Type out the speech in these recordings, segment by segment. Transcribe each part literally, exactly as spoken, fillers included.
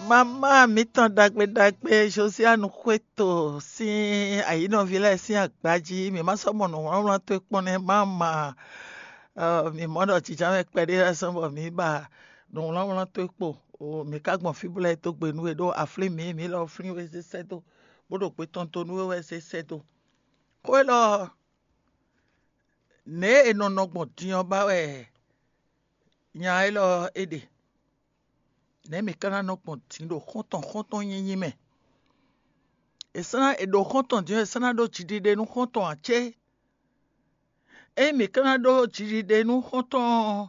Mama mǐtɔn ɖagbe ɖagbe Josianu Xwéto sín ayǐnɔví lɛ́ɛ sín agba jí, mǐ ma sɔ́ mɔ nǔwlánwlán towe kpɔ́n nɛ́. Mama, mǐ mɔ ɖɔ jǐjǎmɛ kpɛɖé lɛ́ɛ sɔ́ bɔ mǐ ba nǔwlánwlán towe kpo. Mǐ ka gbɔn fí bó lɛ́ɛ dó gbe nú we ɖó a flín mǐ, mǐ lɔ flín we zé sɛ́ dó, bó ɖo gbe tɔn dó nú we wɛ zé sɛ́ dó. Xó élɔ́, nɛ̌ è nɔ nɔ gbɔn din ɔ́ ba wɛ nya élɔ́ é ɖe? Nɛ̌ mǐ ka ná nɔ gbɔn din ɖo xɔ́ntɔn xɔ́ntɔn nyínyí mɛ? È sɔ́ ná è ɖo xɔ́ntɔn din ɔ́, è sɔ́ ná ɖó jiɖiɖe nú xɔ́ntɔn ǎ cé? Ényí mǐ ka ná ɖó jiɖiɖe nú xɔ́ntɔn ɔ́,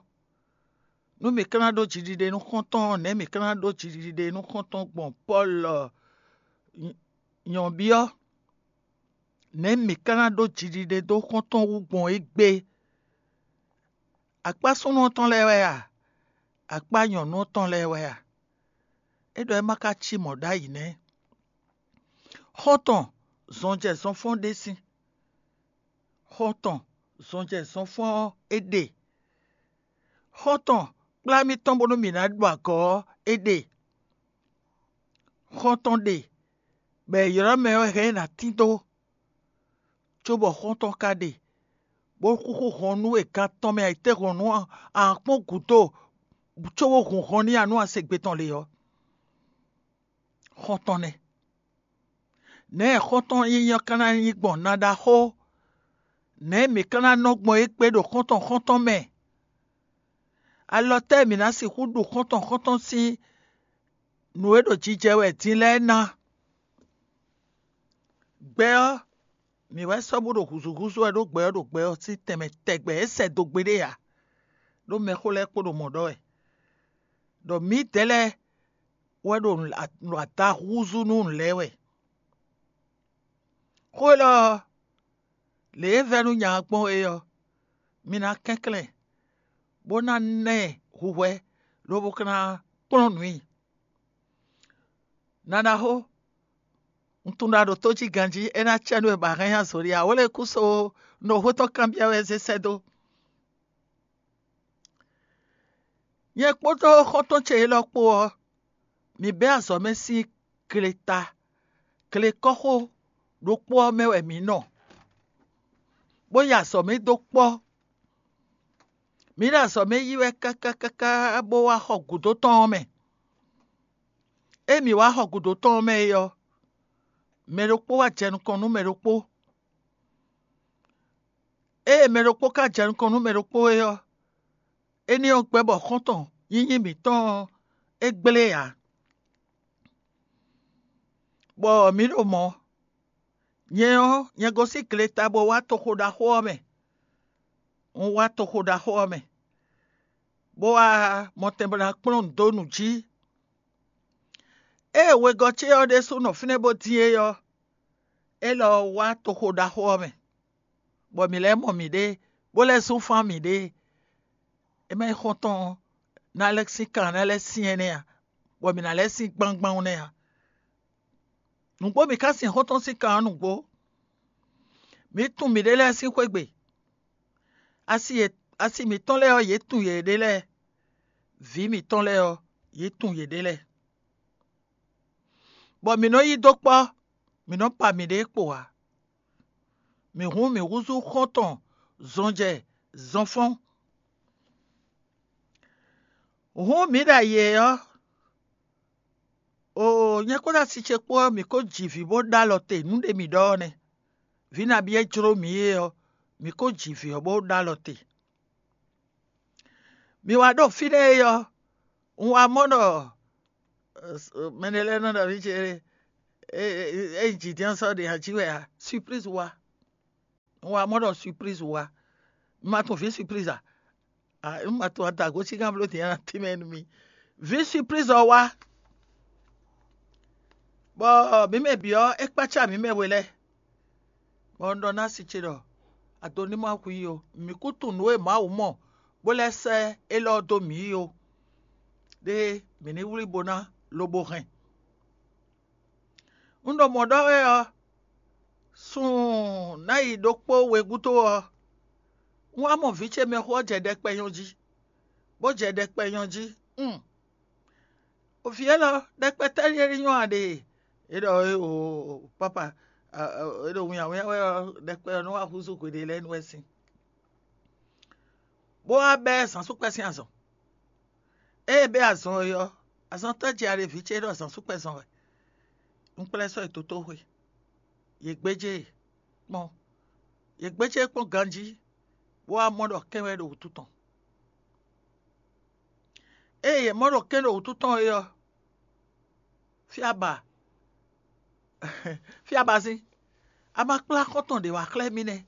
nú mǐ ka ná ɖó jiɖiɖe nú xɔ́ntɔn ɔ́, nɛ̌ mǐ ka ná ɖó jiɖiɖe nú xɔ́ntɔn gbɔn Pɔ́lu nyɔ̌byɔ́? Nɛ̌ mǐ ka ná ɖó jiɖiɖe dó xɔ́ntɔn wú gbɔn égbé? Akpá súnnu ɔ́ tɔn lɛ́ɛ wɛ a? Akpá nyɔ̌nu ɔ́ tɔn lɛ́ɛ wɛ a? É ɖɔ é ma ka cí mɔ̌ ɖ'ayǐ nɛ́. Xɔ́ntɔn zɔnjɛ zɔnfɔ́n ɖé sín. Xɔ́ntɔn zɔnjɛ zɔnfɔ́n ɔ́ é ɖe. Xɔ́ntɔn kplá mì tɔn bónú mǐ ná ɖu agɔ̌ ɔ́ é ɖe. Xɔ́ntɔn ɖe, bɔ è ylɔ́ mɛ ɔ́ hɛn ɛ ná tín dó, cóbɔ xɔ́ntɔn ka ɖe, bó xúxú hɔn nú è gan tɔn mɛ ayǐtéhɔ̌nnu ɔ́, a nǎ kpɔ́n gǔdo cóbó hun hɔn n'i ǎ nú a se gbe tɔn lě ɔ́. Xɔ́ntɔn nɛ́. Nɛ̌ xɔ́ntɔn nyínyí ɔ́ ka ná nyí gbɔn na ɖaxó? Nɛ̌ mǐ ka ná nɔ gbɔn égbé ɖo xɔ́ntɔn xɔ́ntɔn mɛ? Alɔ tɛ́ mǐ ná sixú ɖu xɔ́ntɔn xɔ́ntɔn sín nǔ e ɖo jijɛ wɛ din lɛ́ɛ ná? Gbɛ ɔ́, mǐ wɛ sɔ́ bó ɖo hǔzúhúzú wɛ ɖó gbɛ ɔ́ ɖo gbɛ ɔ́ sín tɛnmɛ tɛgbɛ é sɛ dó gbeɖé ǎ, ɖó mɛxó lɛ́ɛ kpo ɖo mɔ̌ ɖɔ wɛ, ɖɔ mǐdɛɛ lɛ́ɛ wɛ ɖo nǔ ada húzú nú nǔ lɛ́ɛ wɛ. Xó élɔ́ ɔ́, lě e vɛ́ nú nya ɔ́ gbɔn é ɔ́, mi ná kɛnklɛ́n, bó ná ná ɛ hwihwɛ, lobo ka ná kplɔ́n nǔ i. Nanaxó, un tunwun ɖɔ a ɖo tó jí ganjí, é ná cɛ nú we bɔ a hɛn nyi azɔ̌ ɖé ǎ. Wǒ lɛ́ɛ kú so un ɖo xó tɔn kanbyɔ́ wɛ zé sɛ́ dó. Nyɛ kpódó xɔ́ntɔn ce élɔ́ kpó ɔ́, mǐ bɛ́ azɔ̌ mɛ sín gleta, glekɔ́xo ɖokpó ɔ́ mɛ wɛ mǐ nɔ, bó yi azɔ̌ mɛ dó kpɔ́. Mǐ ɖo azɔ̌ mɛ yi wɛ káká káká bó wá xɔ gǔdo tɔn ɔ́ mɛ. Ée mǐ wá xɔ gǔdo tɔn ɔ́ mɛ é ɔ́, mɛ ɖokpó wá jɛ nukɔn nú mɛ ɖokpó. Ée mɛ ɖokpó ka jɛ nukɔn nú mɛ ɖokpó é ɔ́, énɛ́ ɔ́ gbɛ́ bɔ xɔ́ntɔn nyínyí mǐtɔn ɔ́ é gblé ǎ, bɔ mǐ ɖo mɔ̌. Nyɛ ɔ́, nyɛ gosín gleta bó wá toxo ɖaxó ɔ́ mɛ. Un wá toxo ɖaxó ɔ́ mɛ, bó wá mɔtɛn bó ná kplɔ́n nǔ dó nǔ jí. Ée wegɔ́ ce ɔ́ ɖésú nɔ fínɛ́ bó dín é ɔ́, é lɔ wá toxo ɖaxó ɔ́ mɛ, bɔ mǐ lɛ́ mɔ mǐɖée, bó lɛ́ zún fán mǐɖée. É má nyí xɔ́ntɔn ɔ́, ná lɛ́ sín kan ná lɛ́ syɛ́n nɛ́ ǎ, bɔ mǐ ná lɛ́ sín gbangban nɛ́ ǎ. Nǔgbó mǐ ka sin xɔ́ntɔn sín kan ɔ́ nǔgbó. Mǐ tunwun mǐɖée lɛ́ɛ sín xwé gbe. Asi e asi mǐtɔn lɛ́ɛ ɔ́, yě tunwun yěɖée lɛ́ɛ; vǐ mǐtɔn lɛ́ɛ ɔ́, yě tunwun yěɖée lɛ́ɛ. Bɔ mǐ nɔ yí dó kpɔ́, mǐ nɔ pa mǐɖée kpo ǎ. Mǐ hun mǐ húzú xɔ́ntɔn zɔnjɛ zɔnfɔ́n. Hǔn mǐ ɖo ayǐ ɔ́, oo, nyɛ kpódó asi ce kpó ɔ́, mǐ ko ji vǐ bó ɖó alɔ te. Nǔ ɖé mǐ ɖɔ ɔ́ nɛ́. Vǐ nabí e jló mǐ é ɔ́, mǐ ko ji vǐ ɔ́ bó ɖó alɔ te. Mi wá ɖo fínɛ́ é ɔ́, un wá mɔ ɖɔ mɛɖé lɛ́ɛ nɔ ɖɔ mí ce é jǐ dín sɔ́ ɖě jí wɛ ǎ. Surprise wá. Un wá mɔ ɖɔ surprise wá. Un ma tunwun vǐ surprise a? Un ma tunwun adǎgosígán bló din ná tínmɛ nú mì. Vǐ surprise ɔ́ wá, bɔ mǐ mɛ bǐ ɔ́, é kpácá mǐ mɛ we lɛ́ɛ, bɔ un ɖɔ ná si ce ɖɔ: "Ado ní ma hu i ó, mǐ kú tunwun nǔ e Mawu mɔ bó lɛ́ sɛ́ élɔ́ dó mǐ ó, ɖé mǐ ní wlí bo ná lobo hɛn." Un ɖo mɔ̌ ɖɔ wɛ ɔ́, sun ná yi ɖokpó we gúdo ɔ́, un wá mɔ vǐ ce mɛxó ɔ́ jɛ ɖɛkpɛ nyɔ́ jí, bó jɛ ɖɛkpɛ nyɔ́ jí. Un, O vǐ élɔ́, ɖɛkpɛ tɛ́ ɖíe ní nyɔ́ a ɖe? É ɖɔ é o, pápa, é ɖo winnyawínnya wɛ ɔ́, ɖɛkpɛ ɔ́ nɔ wá húzú hweɖé lɛ́ɛ nu wɛ sín. Bó wá bɛ́ zǎnsúkpɛ sín azɔn. Ée é bɛ́ azɔn é ɔ́, azɔn tɔ́ jɛ a ɖe vǐ ce ɖɔ zǎnsúkpɛ zɔn wɛ. Un kplá ɛ sɔ́ yi dotóxwe. Yě gbéjé e kpɔ́n. Yě gbéjé e kpɔ́n ganjí, bó wá mɔ ɖɔ kɛ́n wɛ ɖo wǔtu tɔn. Ée yě mɔ ɖɔ kɛ́n ɖo wǔtu tɔn é ɔ́, fí a ba fí a ba sín. A ma kplá xɔ́ntɔn ɖě wá xlɛ́ mì nɛ́.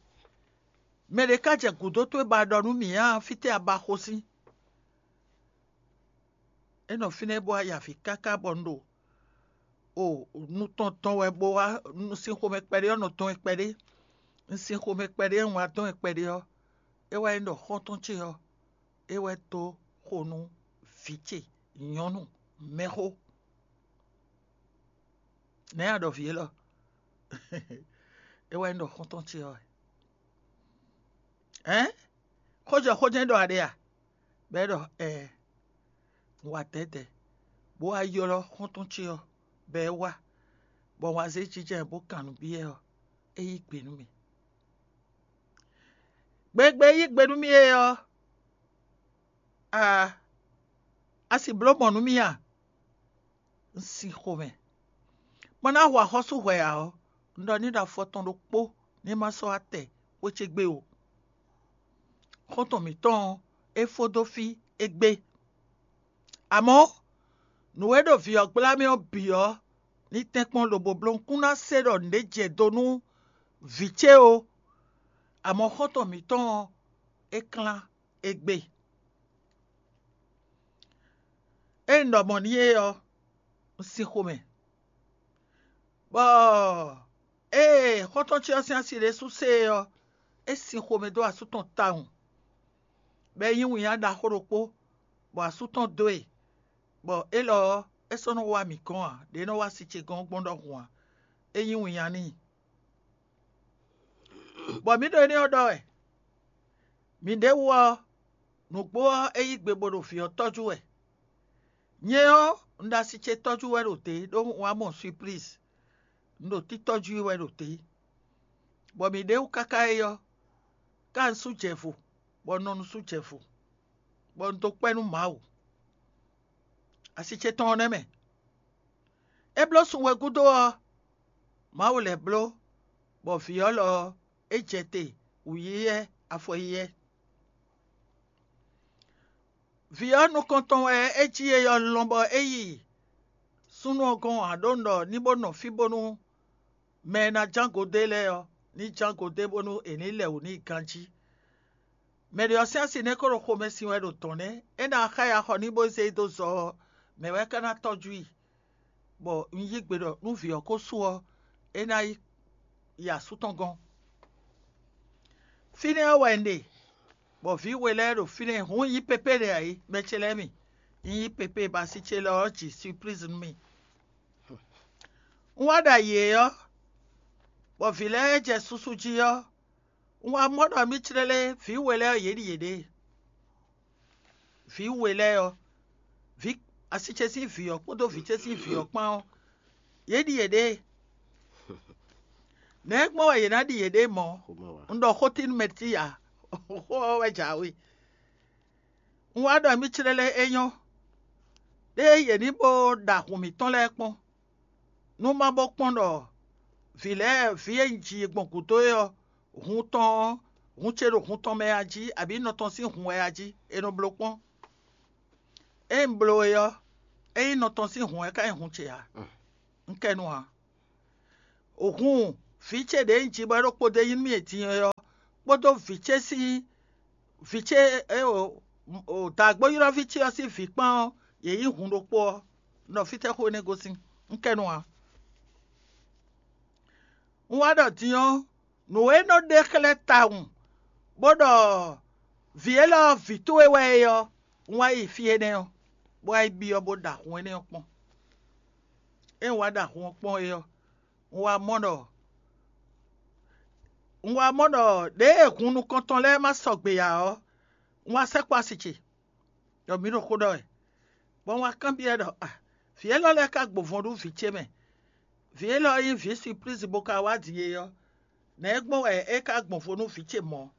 Mɛ ɖě ká jɛ gǔdo towe ba ɖɔ nú mǐ ǎ, fítɛ́ a ba xo sín? É nɔ fínɛ́ bó wá ya avǐ káká bɔ un ɖo o nu tɔn tɔn wɛ bó wá, un sin xomɛ kpɛɖé ɔ́, nɔ tɔn wɛ kpɛɖé. Un sin xomɛ kpɛɖé ɔ́, un wá dɔn wɛ kpɛɖé ɔ́, é wá nyí ɖɔ xɔ́ntɔn ce ɔ́, é wɛ dó xo nú vǐ ce nyɔ̌nu mɛxó. Nɛ̌ a ɖɔ vǐ élɔ́? É wɛ nyí ɖɔ xɔ́ntɔn ce ɔ́ wɛ. Ɛ̌n? Xójɔ xó jɛ́n ɖɔ a ɖe a? Bɔ é ɖɔ ɛɛ, un wa dɛ̌dɛ̌, bó wá ylɔ́ xɔ́ntɔn ce ɔ́, bɔ é wá, bɔ un wá zé jínjɔ́n ɛ bó kan nǔ byɔ́ ɛ ɔ́, é yí gbe nú mì. Gbegbe e yí gbe nú mì é ɔ́, a a si bló mɔ̌ nú mì a? Un sin xomɛ. Ma ná hu axɔ́sú hwɛ ǎ ɔ́, un ɖɔ n'i ɖo afɔ tɔn ɖokpó ní ma sɔ́ wá tɛ xwé ce gbe o. Xɔ́ntɔn mǐtɔn ɔ́, é fó dó fí égbé. Amɔ̌, nǔ e ɖo vǐ ɔ́ gbla mì ɔ́ bǐ ɔ́, ní tɛ́nkpɔ́n lobo bló un kún ná se ɖɔ nǔɖé jɛ do nú vǐ ce ó. Amɔ̌ xɔ́ntɔn mǐtɔn ɔ́, é klán égbé. Ée un ɖɔ mɔ̌ n'i é ɔ́, un sin xomɛ, bɔ ée xɔ́ntɔn ce ɔ́ sín asi ɖésú se é ɔ́, é sin xomɛ dó asú tɔn tawun, bɔ é nyí winnyá ɖaxó ɖokpó, bɔ asú tɔn dó e, bɔ élɔ́ ɔ́, é sɔ́ nɔ wá mǐ gɔ́n ǎ, ɖě é nɔ wá si ce gɔ́n gbɔn ɖɔhun ǎ; é nyí winnyá n'i. Bɔ mǐ ɖo énɛ́ ɔ́ ɖɔ wɛ. Mǐɖée wú ɔ́, nǔgbó ɔ́, é yí gbe bó ɖo vǐ ɔ́ tɔ́jú wɛ. Nyɛ ɔ́, un ɖo asi ce tɔ́jú wɛ ɖo dě, ɖó un wá mɔ Suplísi; un ɖo títɔ́jú i wɛ ɖo dě. Bɔ mǐɖée wú káká é ɔ́, ká un sú jɛ vo, bɔ un nɔ nu sú jɛ vo, bɔ un dó kpɛ́ nú Mawu. Asi ce tɔn ɔ́ nɛ́ mɛ. É bló sun we gúdo ɔ́, Mawu lɛ́ bló, bɔ vǐ ɔ́ lɔ ɔ́, é jɛ te wǔyíyɛ́ afɔyíyɛ́. Vǐ ɔ́ nukɔn tɔn wɛ é jí e ɔ́ lɔn bɔ é yi súnnu ɔ́ gɔ́n ǎ, ɖó un ɖɔ ní bó nɔ fí bónú mɛ e ná ján go dó e lɛ́ɛ ɔ́, ní ján go dó e bónú è ní lɛ wǔ n'i ganjí. Mɛ ɖě ɔ́ sín asi nɛ́ ko ɖo xomɛ sin wɛ ɖo dɔ̌n nɛ́; é ná xá ya xɔ n'i bó zé e dó zɔ ɔ́, mɛ̌ wɛ ka ná tɔ́jú i? Bɔ un yí gbe ɖɔ nú vǐ ɔ́ ko su ɔ́, é ná yi yi asú tɔn gɔ́n. Fínɛ́ ɔ́ wɛ un ɖe, bɔ vǐ we lɛ́ɛ ɖo fínɛ́, hǔn un yí pépé ɖe ǎ é, mɛ ce lɛ́ɛ mi. Un yí pépé bɔ asi ce lɔ ɔ́ ji Suplísi nú mì. Un wá ɖo ayǐ é ɔ́, bɔ vǐ lɛ́ɛ jɛ susu jí ɔ́, un wá mɔ ɖɔ mì clélé vǐ we lɛ́ɛ ɔ́, yě ɖi yěɖée. Vǐ we lɛ́ɛ ɔ́, vǐ asi ce sín vǐ ɔ́ kpódó vǐ ce sín vǐ ɔ́ kpán ɔ́, yě ɖi yěɖée. Nɛ̌ gbɔn wɛ yě ná ɖi yěɖée mɔ̌? Un ɖɔ xó tín nú mɛ tí ǎ, xó ɔ́ wɛ jǎwe. Un wá ɖɔ mì clélé é nyɔ́, ɖé yě ní bó ɖa hun mǐtɔn lɛ́ɛ kpɔ́n, nú má bó kpɔ́n ɖɔ vǐ lɛ́ɛ vǐ e un ji gbɔn gǔdo é ɔ́, hun tɔn ɔ́, hun ce ɖo hun tɔn mɛ a jí, abǐ nɔ tɔn sín hun wɛ a jí; è nɔ bló kpɔ́n. Ée un bló é ɔ́, ényí nɔ tɔn sín hun wɛ ka nyí hun ce ǎ, un kɛ nu ǎ. Hun vǐ ce ɖě un ji bɔ é ɖo kpódó nyí nú mì din é ɔ́, kpódó vǐ ce sín vǐ ce e o daagbóylɔ́ví ce ɔ́ sín vǐ kpán ɔ́, yě nyí hun ɖokpó ɔ́, un ɖɔ fítɛ́ xó énɛ́ gosín? Un kɛ nu ǎ. Un wá ɖɔ din ɔ́, nǔ e nɔ ɖe xlɛ́ tawun, bó ɖɔ vǐ élɔ́ ɔ́ vǐ towe wɛ é ɔ́, un wá yi fí énɛ́ ɔ́, bó wá yi byɔ́ bó ɖa hun énɛ́ ɔ́ kpɔ́n. Ée un wá ɖa hun ɔ́ kpɔ́n é ɔ́, un wá mɔ ɖɔ un wá mɔ ɖɔ ɖěe hun nukɔntɔn lɛ́ɛ ma sɔgbe ǎ ɔ́, un wá sɛkpɔ́ asi ce, ɖɔ mǐ ɖo xó ɖɔ wɛ, bɔ un wá kanbyɔ́ ɛ ɖɔ: “A, Vǐ élɔ́ lɛ́ɛ ka gbɔn vɔn nú vǐ ce mɛ. Vǐ élɔ́ nyí vǐ siplízi bó ka wá din é ɔ́, nɛ̌ gbɔn wɛ é ka gbɔn vo nú vǐ ce mɔ̌?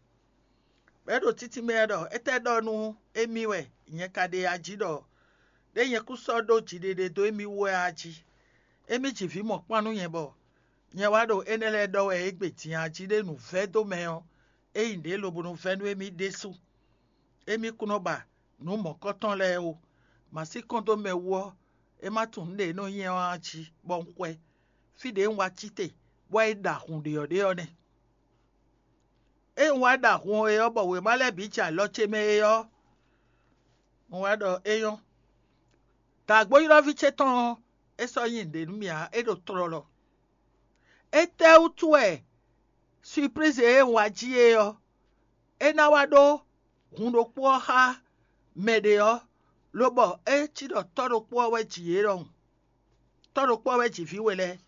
Bɔ é ɖo títí mɛ wɛ ɖɔ: Étɛ́ ɖɔ nú émí wɛ nyɛ ka ɖe a jí ɖɔ ɖé nyɛ kún sɔ́ ɖó jiɖiɖe dó émí wú wɛ a jí? Émí ji vǐ mɔ̌kpán nú nyɛ bɔ nyɛ wá ɖo énɛ́ lɛ́ɛ ɖɔ wɛ égbé din a jí ɖé nǔvɛ́ dó mɛ ɔ́, é nyí ɖě lobo nɔ vɛ́ nú émí ɖésú. Émí kún nɔ ba nǔ mɔ̌kɔ́tɔn lɛ́ɛ ó. Mǎ sí kɔn dó mɛ wú ɔ́, é má tunwun nǔ ɖě e nɔ nyɛ ɔ́ a jí, bɔ un xwɛ fí ɖě un wá cí te, bɔ é ɖa hun ɖě ɔ́ ɖe ɔ́ nɛ́. Ée un wá ɖa hun ɔ́ é ɔ́, bɔ wěma lɛ́ɛ bǐ jɛ alɔ ce mɛ é ɔ́, un wá ɖɔ é nyɔ́. Dǎgbóylɔ́ví ce tɔn ɔ́, é sɔ́ nyí nǔɖé nú mì ǎ; é ɖo tlɔlɔ. Étɛ́wútu wɛ siplízi e un wá jí é ɔ́, é ná wá ɖó hun ɖokpó ɔ́ xá mɛ ɖě ɔ́, lobɔ é cí ɖɔ tɔ́ ɖokpó ɔ́ wɛ ji yě ɖɔhun? Tɔ́ ɖokpó ɔ́ wɛ ji vǐ we lɛ́ɛ.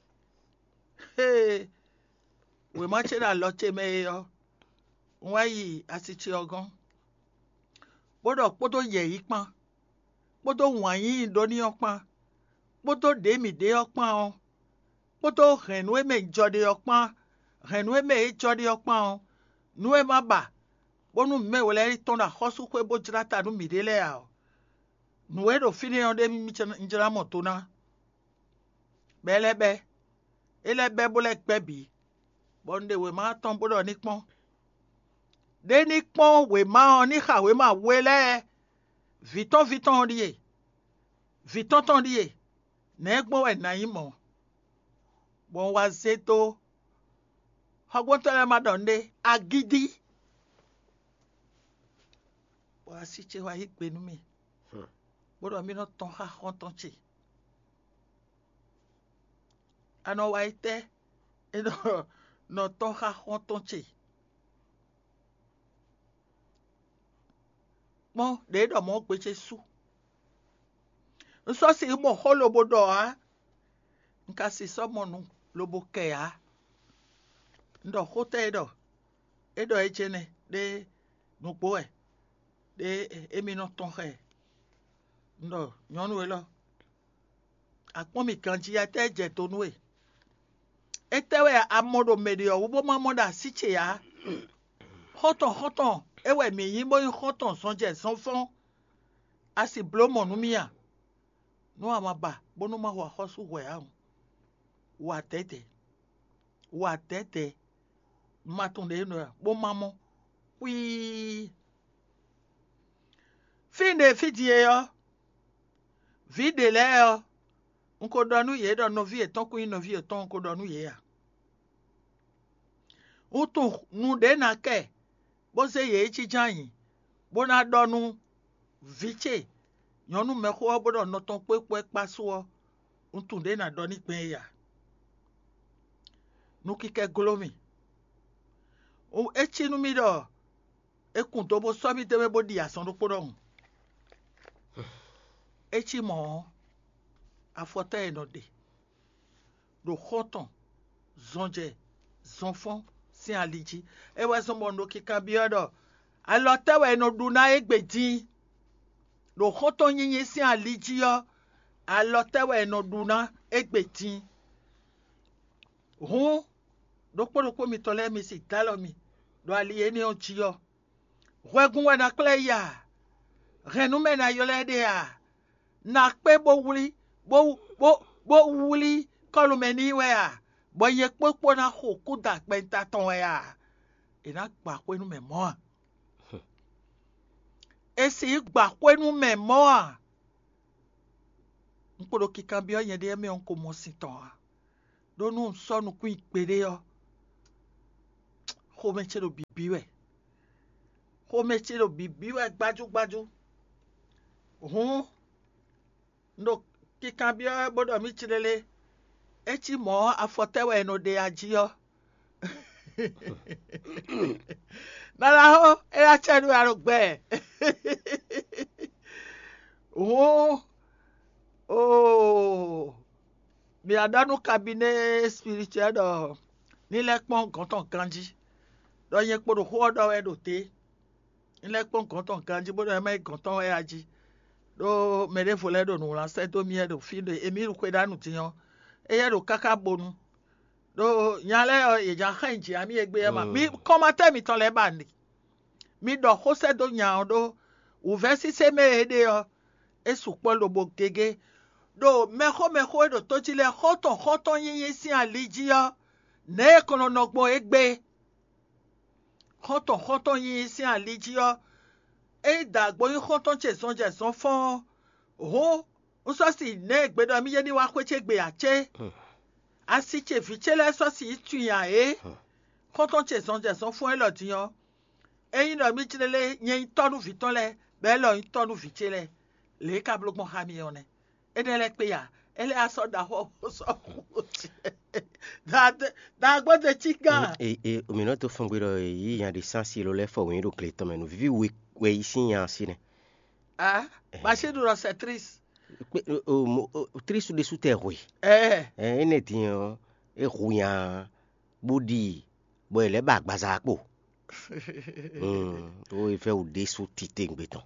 Xé e wěma ce ɖo alɔ ce mɛ é ɔ́, un wá yi asi ce ɔ́ gɔ́n, bó ɖɔ kpódó yɛ̌yi kpán, kpódó wǎn yíyí ɖó n'i ɔ́ kpán, kpódó ɖě mǐ ɖe ɔ́ kpán ɔ́, kpódó hɛ̌nnu e mɛ un jɔ ɖe ɔ́ kpán, hɛ̌nnu e mɛ é jɔ ɖe ɔ́ kpán ɔ́, nú é má ba, bónú mǐ mɛ we lɛ́ɛ yi tɔ́n ɖo axɔ́súxwé bó jlá ta nú mǐɖée lɛ́ɛ ǎ ɔ́, nǔ e ɖo fínɛ́ ɔ́ ɖé mì jlá mɔ do ná. Bɔ é lɛ́ bɛ́; é lɛ́ bɛ́ bó lɛ́ gbɛ́ bǐ, bɔ un ɖe wěma ɔ́ tɔn bó ɖɔ ní kpɔ́n. Ɖé ní kpɔ́n wěma ɔ́ ní xa wěma we lɛ́ɛ; vǐ tɔn ví tɔn ɔ́ ɖíe, vǐ tɔn tɔn ɖíe; nɛ̌ gbɔn wɛ nǎ nyí mɔ̌? Bɔ un wá zé dó xɔgbɔntɔ́ lɛ́ɛ ma ɖɔ nǔɖé, agídí. Bɔ asi ce wá yí gbe nú mì, bó ɖɔ mì nɔ tɔn xá xɔ́ntɔn ce. A nɔ wa yi tɛ́? É nɔ nɔ tɔn xá xɔ́ntɔn ce. Kpɔ́n ɖě ɖɔ mɔ̌ gbe ce su. Un sɔ́ sixú mɔ xó lobo ɖɔ ǎ; un ka sixú sɔ́ mɔ nǔ lobo kɛ ǎ. Un ɖɔ xó tɛ́ e ɖɔ é ɖɔ é jɛ́n nɛ́ ɖé nǔgbó wɛ, ɖé émí nɔ tɔn xá ɛ. Un ɖɔ nyɔ̌nu élɔ́, a kpɔ́n mì ganjí, étɛ́ jɛ do nú we? Étɛ́ wɛ a mɔ ɖo mɛ ɖě ɔ́ wú bó ma mɔ ɖo así ce ǎ? Xɔ́ntɔn xɔ́ntɔn é wɛ mǐ nyí bó nyí xɔ́ntɔn zɔnjɛ zɔnfɔ́n. A si bló mɔ̌ nú mì a? Nú a ma ba bónú ma xo axɔ́sú hwɛ̌ ǎ hǔn, wa dɛ̌dɛ̌, wa dɛ̌dɛ̌, ma tunwun ɖě nɔ bó ma mɔ. Xwíí. Fí ɖě fí din e ɔ́, vǐ ɖě lɛ́ɛ ɔ́, un ko ɖɔ nú yě ɖɔ nɔví yětɔn kún nyí nɔví yětɔn, un ko ɖɔ nú yě ǎ. Un tunwun nǔɖé ná kɛ, bó zé yě yi jínjɔ́n ayǐ, bó ná ɖɔ nú vǐ ce nyɔ̌nu mɛxó ɔ́ bó ɖɔ nɔ tɔn kpó é kpó é kpá su ɔ́, un tunwun ɖě ná ɖɔ n'i gbɛn é ǎ. Nukínkɛ́ gló mì. É cí nú mì ɖɔ è kun do bó sɔ́ mì d'é mɛ bó ɖi azɔn ɖokpó ɖɔhun. É cí mɔ̌ ɔ́, afɔtɔ́ e è nɔ ɖe ɖo xɔ́ntɔn, zɔnjɛ, zɔnfɔ́n sín ali jí. É wɛ zɔ́n bɔ un ɖo kinkanbyɔ́ ɖɔ alɔ tɛ́ wɛ è nɔ ɖu ná égbé din? Ɖo xɔ́ntɔn nyinyi sín ali jí ɔ́, alɔ tɛ́ wɛ è nɔ ɖu ná égbé din? Hǔn, ɖokpó ɖokpó mitɔn lɛ́ɛ mi si dó alɔ mi ɖo ali énɛ́ ɔ́ jí ɔ́, hwɛgun wɛ ná kplá ɛ yi a? Hɛ̌nnu mɛ ná ylɔ́ ɛ ɖe a? Ná kpé bó wlí bó bó bó wlí kɔ́lu mɛ n'i wɛ a? Bɔ nyɛ kpókpó ná xo kúdǎgbɛ́ta tɔn wɛ a? È nǎ gba xwé nú mɛ mɔ̌ a? È sixú gba xwé nú mɛ mɔ̌ a? Un kpo ɖo kinkanbyɔ́ nyɛɖée mɛ ɔ́, un ko mɔ sin tɔn ǎ. Ɖó nú un sɔ́ nukún nyi gbeɖé ɔ́, xomɛ ce ɖo bǐbí wɛ. Xomɛ ce ɖo bǐbí wɛ gbájúgbájú. Hǔn, un ɖo kinkanbyɔ́ wɛ bó ɖɔ mì clélé. É cí mɔ̌ ɔ́, afɔ tɛ́ wɛ è nɔ ɖe a jí ɔ́? Nana xó, é ná cɛ nú we a ɖo gbɛ. Hǔn, oo, mǐ wá ɖɔ nú kabinɛ́ spirituel ɖɔ ní lɛ́ kpɔ́n gɔ̌n tɔn ganjí, ɖɔ nyɛ kpo ɖo xó ɔ́ ɖɔ wɛ ɖo te. Ní lɛ́ kpɔ́n gɔ̌n tɔn ganjí bó ɖɔ é má nyí gɔ̌n tɔn wɛ a jí. Ɖó mɛ ɖěvo lɛ́ɛ ɖo nǔwlán sɛ́ dó mì wɛ ɖo fí ɖo émí ɖo xwedánú din ɔ́, éyɛ́ ɖo káká bonu. Ɖó nya lɛ́ɛ ɔ́, yě ján xá nyi jǐ amì égbé ɔ́ ma. Mi kɔnmatɛ́ mitɔn lɛ́ɛ ba nǔ. Mi ɖɔ xó sɛ́ dó nya ɔ́ ɖó wǔvɛ́ sísé mɛ e é ɖe ɔ́, é sukpɔ́ lobo gégé. Ɖo mɛxó mɛxó e ɖo tó jí lɛ́ɛ xɔ́ntɔn xɔ́ntɔn nyínyí sín ali jí ɔ́, nɛ̌ è kɔn nɔ nɔ gbɔn égbé? Xɔ́ntɔn xɔ́ntɔn nyínyí sín ali jí ɔ́, ényí dǎgbó nyí xɔ́ntɔn ce zɔnjɛ zɔnfɔ́n ɔ́, hǔn un sɔ́ si nɛ̌ e gbe ɖɔ mì yé ní wá xwé ce gbe ǎ cé? Asi ce vǐ ce lɛ́ɛ sɔ́ si yi tunwun ǎ é. Xɔ́ntɔn ce zɔnjɛ zɔnfɔ́n élɔ́ din ɔ́, ényí ɖɔ mì jlé lé nyɛ nyí tɔ́ nú vǐ tɔn lɛ́ɛ, bɔ élɔ́ nyí tɔ́ nú vǐ ce lɛ́ɛ, lě e ka bló gbɔn xá mi ɔ́ nɛ́. Énɛ́ lɛ́ɛ kpé ya, é lɛ́ wá sɔ́ ɖaxó bó sɔ́ xú. Dǎgbó ɖe cí gán. E e mǐ nɔ dó fɔ́n gbe ɖɔ yě yí nya ɖé sín asi lɔ lɛ́ɛ fɔ wěnyi ɖo gle tɔn mɛ nǔ víví we wɛ yí sín nya asi nɛ́. A Bashir ɖɔ c'est triste. Kpé o mo o Trisu ɖésú tɛ hwe. Ɛ Ɛ énɛ́ din ɔ́, é hu nya bó ɖi bɔ è lɛ́ ba agbaza kpo. Mm, ó é vɛ́ wǔ ɖésú titewungbe tɔn.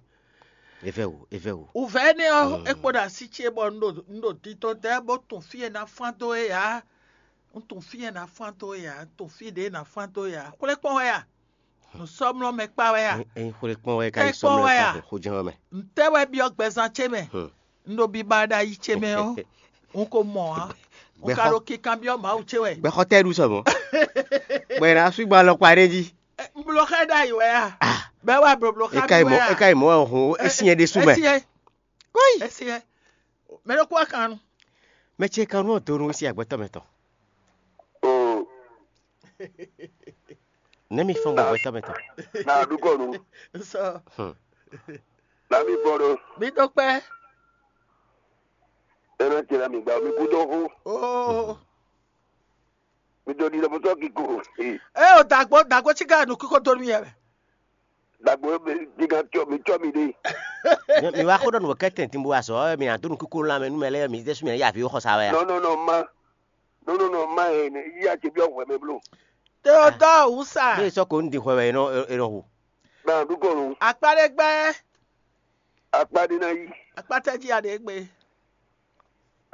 É vɛ́ wǔ, é vɛ́ wǔ. Wǔvɛ́ énɛ́ ɔ́, é kpo ɖo asi ce bɔ un ɖo un ɖo dito dɛ́ bó tunwun fí e ná fán dó é ǎ. Un tunwun fí e ná fán dó é ǎ. Un tunwun fí ɖě e ná fán dó é ǎ. Xwlé kpɔ́n wɛ a? Nǔ sɔ́ mlɔ́ mɛ kpá wɛ a? Ényí xwlé kpɔ́n wɛ é ka yi Tɛ́ sɔ́ kpɔ́n mlɔ́ wɛ ɛ a? Xo jɛ́n wɛ mɛ. Ntɛ́ wɛ byɔ́ gbɛzán ce mɛ? Un ɖo biba ɖo ayi ce mɛ ɔ́, un ko mɔ ǎ. Un ka ɖo kinkanbyɔ́ Mawu ce wɛ. Gbɛxɔ tɛ́ ɖu sɔ mɔ̌. Bɔ è nǎ sú gbɔ alɔkpa ɖé jí. Un bló xá ɛ ɖ'ayǐ wɛ a? Bɛ́ wá blǒbló xá mì wɛ a? É ka yi mɔ̌ wɛ hun é syɛ́n ɖésú mɛ. Kóyi. É syɛ́n. Mɛ ɖokpó wá kan nu. Mɛ ce kan nú ɔ́ donu sín agbɛtɔ́ mɛ tɔn. Oo. Nɛ́ mi fɔ́n gbɔ agbɛtɔ́ mɛ tɔn. Na ɖu kɔ nu. Sɔ. Hmm. Na mi fɔ́n ɖo. Mi dó kpɛ́. Ena ce na mi gba mi kú dó xó. Oo. Mi dó ɖi lɔ bó sɔ́ kíkó. Ɛ o dàgbò dàgbò tí ká nù kíkó dó nú yɛ mɛ. Dàgbò mi gíga tí mi tí mi ɖe. Mi wá xó ɖɔ nǔ kɛ́tɛn din bó wá sɔ mi ná dó nú kíkó lan mɛ nú mɛ lɛ́ɛ mi ɖésú mi ná yí avǐ xɔ sa wɛ a? Non non non ma. Non non non ma e ne yi a ce bi ɔhwɛ mɛ blo. Théodore wusa. Bí sɔ ko ń di xɔ wɛ e nɔ e nɔ hu. Na ɖu kɔ nu. Akpa ɖé gbɛ. Akpa ɖé na yi. Akpa tɛ jí a ɖe gbé.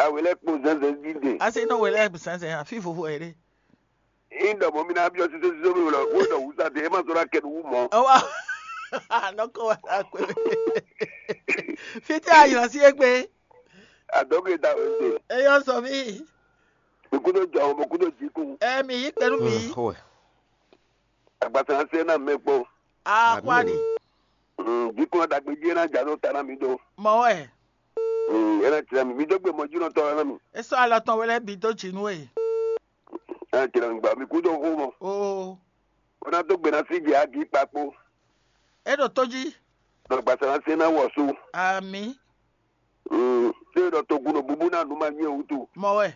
Awe lɛ kpo zɛnzɛn jí de. Asi nɔ wɛ lɛ zɛnzɛn afi vovo ɛ ɖe. Ŋdɔ mɔ mi na biɔ sise sise mi wlɔ wo dɔ wusa de e ma sɔ na kɛ nu wu mɔ. Ɛwa nɔkɔ wa na kpe. Fiti ayɔ si egbe. Adɔgbe da wɛ de. Eyɔ sɔ mi. Mi kudo jɔ mo kudo jiku. Ɛ mi yi kpɛnu mi. Xɔɛ. Agbasa se na mɛ kpɔ. Akwani. Jiku na dagbe ji na ja no ta na mi do. Mɔ wɛ. Ena tira mi mi dó gbe mɔjúnɔtɔ ɔ́ ná mi. Esɔ alɔ tɔn wɛ lɛ bi dó jinu e. Ena tira mi gba mi kú dó xó mɔ. Oo. Ó ná dó gbe ná sí jɛ agi kpakpo. E ɖo tó jí. Ɖɔ gbasa ná se ná wɔ su. Ami. Ṣé ɖɔ togun ɖo búbú ná nu ma nyɛ wutu. Mɔ wɛ.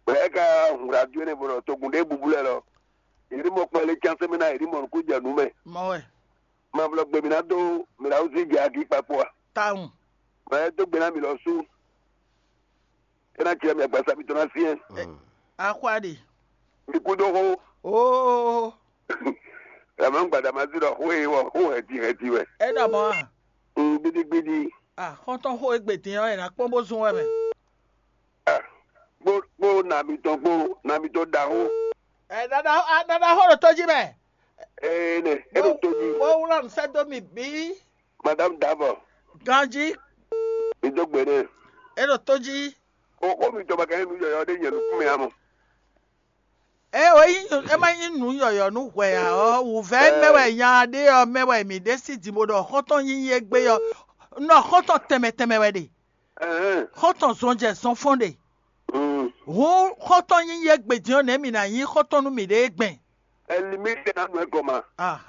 Bɛ ɛ ka hun radio ne bɔ ɖɔ togun ɖe búbú lɛ lɔ. Yeri mɔ kpɛlɛ can sɛmɛ na yeri mɔ nukú jɛ nu mɛ. Mɔ wɛ. Ma blɔ gbe mi ná dó mi ná wúzú jɛ agi kpakpo a. Tawun. Mɛ e dó gbe ná mi lɔ sú. É ná cɛ mi agbasa mitɔn ná syɛ́n. Axwa ɖe. Mi kú dó xó. Oo. Ɛmɛ gbadama sí ɖɔ xó e wɔ xó hɛti hɛti wɛ. É ɖɔ mɔ a? Gbidigbidi. Ah, xɔ́ntɔn xó e gbe din ɔ́, è nǎ kpɔ́n bó zún wɛ mɛ. Ah, kpó kpó nà mitɔn kpó nà mitɔn ɖaxó. Ɛ ɖaɖa ɖaɖa xó ɖo tó jí mɛ. Ee nɛ, é ɖo tó jí. Bó wlá nǔ sɛ́ dó mì bǐ. Madame Davɔ. Ganjí. Mi dó gbe nɛ. É ɖo tó jí. O xó mitɔn ba ka nyí nǔ yɔyɔ ɖé nyɛ nukún mɛ amɔ. É o nyí é má nyí nǔ yɔyɔ nú hwɛ ǎ ɔ́, wǔvɛ́ mɛ wɛ nya ɖé ɔ́ mɛ wɛ mǐ ɖe sí din bó ɖɔ xɔ́ntɔn nyínyí égbé ɔ́, nɔ xɔ́ntɔn tɛnmɛ tɛnmɛ wɛ ɖe. Xɔ́ntɔn zɔnjɛ zɔnfɔ́n ɖe. Hǔn xɔ́ntɔn nyínyí égbé din ɔ́ nɛ̌ mǐ ná nyí xɔ́ntɔn nú mǐɖée gbɛn? Ɛlimí tɛ ná nɔ ɛ gɔma. Ah.